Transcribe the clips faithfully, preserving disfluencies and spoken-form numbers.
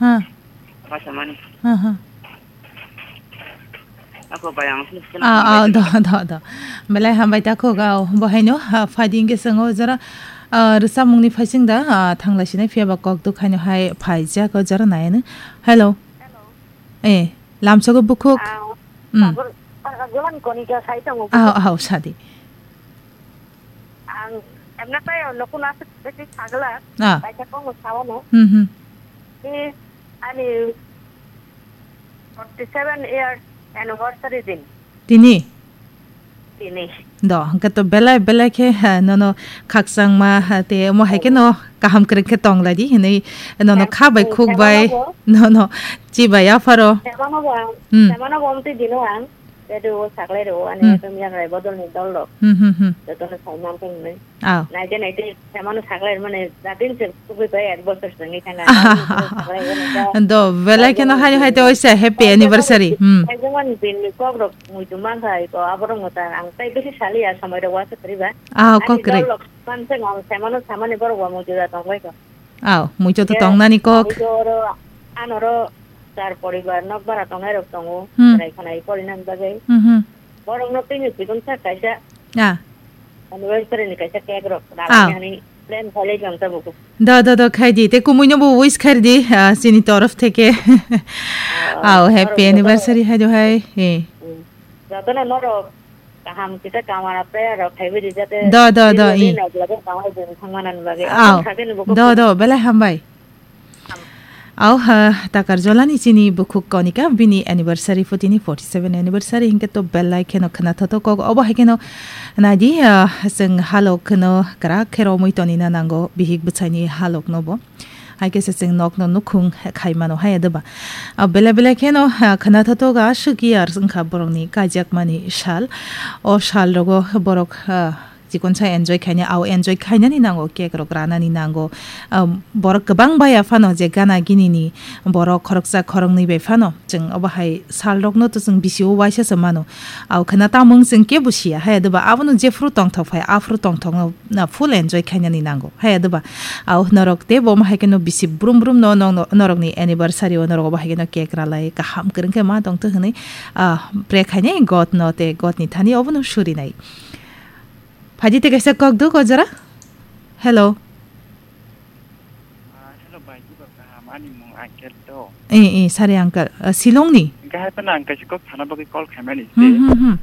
Ha. Basa mani. Ha, ha. Ako bayang sini sini Ah, ah, bayang. Do, do, do. Belai hambai ta khuk, ah, bo haino, ha, phadi hingke swngo jora, ah, rwchapmungni phaising da, ah, thanglai sinai phiya ba kok duk haino hai phaijak o jora nai ano. Hello. Hello. Eh, lamsogo bukhuk. Ah, Hmm. Sagur, ah, Golan Konika sai tongo. Ah, ah, sadi. Ang emna tayo nokuna se beti sagla. Ah. Kaisa kongo sawano. Hmm, hmm. Ni ani forty seven years anniversary din. Tini? Tini. Do, hingke to belai belai khe, ha, nono khakchangma, ha, te omo hai khe no kaham kwrwng khe tong lai di hinui nono Em, kha bai em, khuk bai, semano bo. Nono chi bai apharo. Semano bo ang, Hmm. Semano bo amtwi dino ang. Redo o saklai rw, ani Hmm. ekdom yakrai bodol ni dol rok. Hmm, hmm, hmm. Jotono sai man tong nai. Aw. Naite naite samano saklai mane jatin se kubui bai ek bosor swngi thanga. Do, belai kheno hai hai te oisa happy anniversary. Hmm. Ekdom ani bin ni kok rok muitu man khai ko aborok mo ta ang tai bisi sali ya samai rok wasa kariba. Ah, ani kok re. Dol rok man se ngam samano samani borok wa muitu da tong bai ko. Aw, muitu to tongnani kok. Muitu oro anoro char poribar nok bara tongnai rok tongo. Hmm. Chwrai khwnai porinani bagwi. Hmm, hmm. Borokno tini chikon sa kaisa Ah. Anniversary ni kaisa cake rok Ah. Ralai hani plan khalai jang ta buku. Do, do, do, khai di. Te kumui no bo wish khai di, ah, chini torof theke. Ah, Aw, happy anniversary hai do hai. Eh. Hmm. Jotono norok kaham kita kamana prayer rok khai bidi jate Do, do, do, chini eh. Nai jate kamai jeng thangmana ni bagwi. Aw. Ang sakhe ni buku. Do, do, belai hambai. Aw, ha, takar jolani chini bukhuk Konika, bini anniversary, putini forty seven anniversary, hinkhe to belai kheno khna thoto kok. Obo hai kheno nai di, ah, chwng halok kheno kwrak khe romwi tonina nango, bihik bwsaini halok no bo. Hai khe se chwng nok no nukhung khai mano hai adwba. Ah, belai belai kheno, ah, khna thoto ga swk years wngkha borokni kaijakmani sal. O sal rogo borok, ah, Chikon sa enjoy khaina, au enjoy khainani nango, cake rok ranani nango. Um, borok kwbang baya phano je gana gini ni borok khoroksa khoroknwi bai phano chwng obo hai sal rokno to chwng bisi o waisa se mano. Au khana tamung chwng kebo siya hai adoba abono jephru tongthok phai aphru tongthok no na full enjoy khainani nango hai adoba. Au norok tei bo hai khe no bisi brum brum no nong no norok ni anniversary o norok obo hai khe no cake ralai kaham kwrwng khe ma tongtho hwnwi, ah, pray khainai God no tei God ni thani obono surinai. Phaidi tei kaisa kok duk o jora. Hello. Ah, hello, bai, Jibor kaham, ani mung Angkel to. Eh, eh, sari uncle. Ah, Shillong ni? Hingke hai phano ang kaisa kok sana bagwi call khaimani Hmm, se. Hmm, hmm.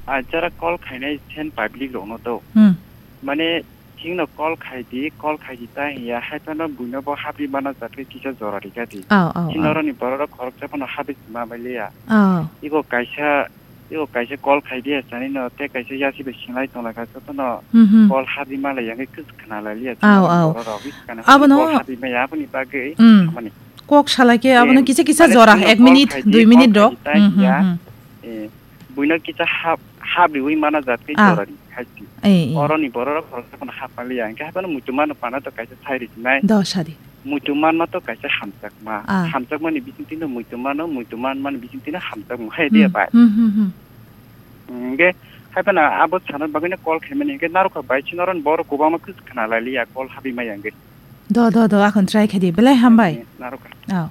Ah, jara call khainai sen public rokno to. Hmm. Mane, chingno call khaidi, call khaidi ta hiya, hai phano buino bo habri mana jatwi kisa jora rikadi. Aw, aw, aw. Chini oroni borok rok khoroksa phano habri ma bai liya. Aw. Iko kaisa Tei o kaisa call khai di, sani no, tei kaisa yasi bai singlai tong lai kha, joto no Hmm, hmm. Call habri ma lai ya, hingke kwchwk khna lai liya, Aw, chini aw. Borok rok, hingke khana Abono call habri ma ya, aboni bagwi Hmm. Samani. Kok salai khe, abono Em, kisa kisa mane jora, chwngno ek call minute, khai di, dui call minute khai rok. di ta Hmm, hmm, hiya. hmm. Eh, buino kisa hab-, habriwi mana jat khe Ah. Jora di khai di. Eh, eh. Oroni borok rok, khoroksa phano hab ma liya, hingke haphano muitu mano pana to kaisa sai ri sinai. Do sadi. Muitu manma to kaisa hamjakma. Ah. Hamjakmani bisingtwi no muitu mano, muitu manmani bisingtwi no hamjakma. Hai diya Hmm, bai. Hmm, hmm, hmm. Hingke hai phano abo sana bagwi no call khaimani hingke narwkha bai chini oro borok kwbangma khe khna lai liya call habwi maya hingke. Do, do, do, akhon try khaidi. Belai hambai. Eh, narwkha. Oh.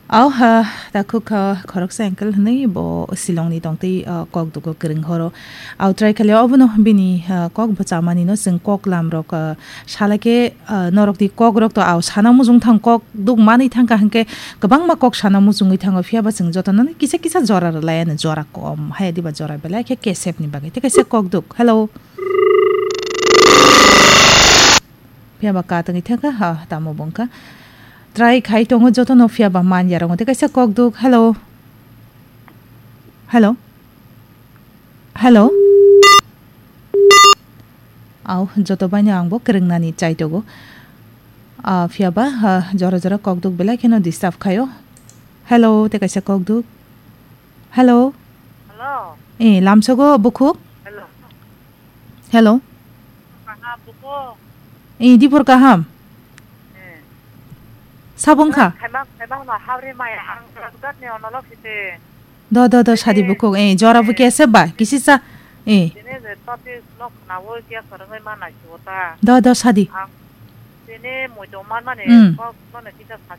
Oh, ha, ta khuk kha khoroksa uncle hwnwi bo Shillong ni tongtwi, ah, kok dugo kwrwng horo. Au try khalia obono bini, ah, kok bwchamani no chwng kok lam rok, ah, Salai khe, ah, norok ni kok rok to, aw, sana mujung thang kok duk manwi thang kha hwnkhe kwbangma kok sana mujungwi thango, phiya ba chwng jotono no kisa kisa jora rwlai ano, jora kom hai diba jora belai khe kesep ni bagwi. Tei kaisa kok duk. Hello. Phiya ba ka tongwi thang kha, ha, tamo bo wng kha. Try khai tongo jotono, phiya ba man ya rongo. Tei kaisa kok duk. Hello. Hello. Hello. Aw, joto baino ang bo kwrwngnani chaitogo. Ah, phiya ba, ah, jora jora kokduk belai kheno disturb khaio. Hello, tei kaisa kokduk. Hello. Hello. Eh, lamsogo bukhuk? Hello. Hello. Kaha bukhuk? Eh, dipor kaham? Eh. Sabung kha? Khaima, khaima ma habri maya ang rajgat ni onolok hite. Do, do, do, sadi bukhuk, eh, jora bo kesa ba, kisi sa, eh. Tini je topic no khnawo kya khorangwi ma nai chuta. Do, do, sadi. Ang tini muitu man mani Mm. Kok no ne kisa sadi